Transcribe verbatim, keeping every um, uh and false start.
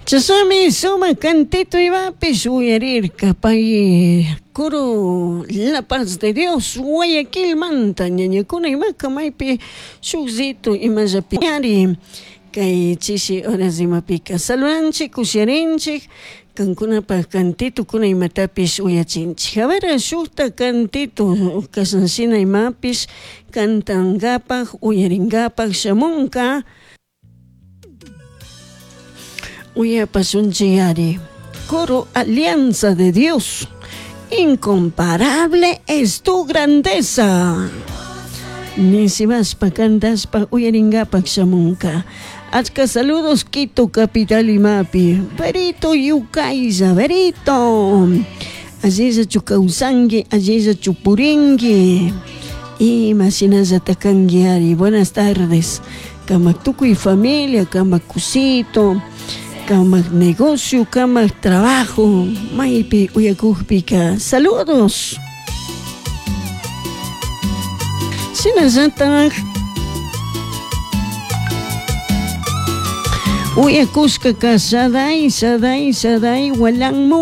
Chashnami sumak cantito imapish uyarirka pay coro La Paz de Dios Guayaquilmanta ñañakuna imaka maypi shukllito imallapi ari kay chishi horas imapika saludanchik kusharinchik kankunapak cantitukuna imatapish uyachinchik. A ver, shukta cantito kashanshina imapish cantangapak uyaringapak shamunka uyapashunchik ari. Coro Alianza de Dios, incomparable es tu grandeza. Nisibaspa cantashpa uyaringapak shamunka. Achka saludos Quito capital imapi. Berito Yukaylla, Berito. Allillachu kawsanki, allillachu purinki. Ima shinallata kanki ari. Buenas tardes. Kamak tukuy familia, kamak kusito, kamak negocio, kamak trabajo. Maypi uyakukpika. Saludos. Shinallatak uyakushka Shaday, Shaday, Shaday, Walanmu.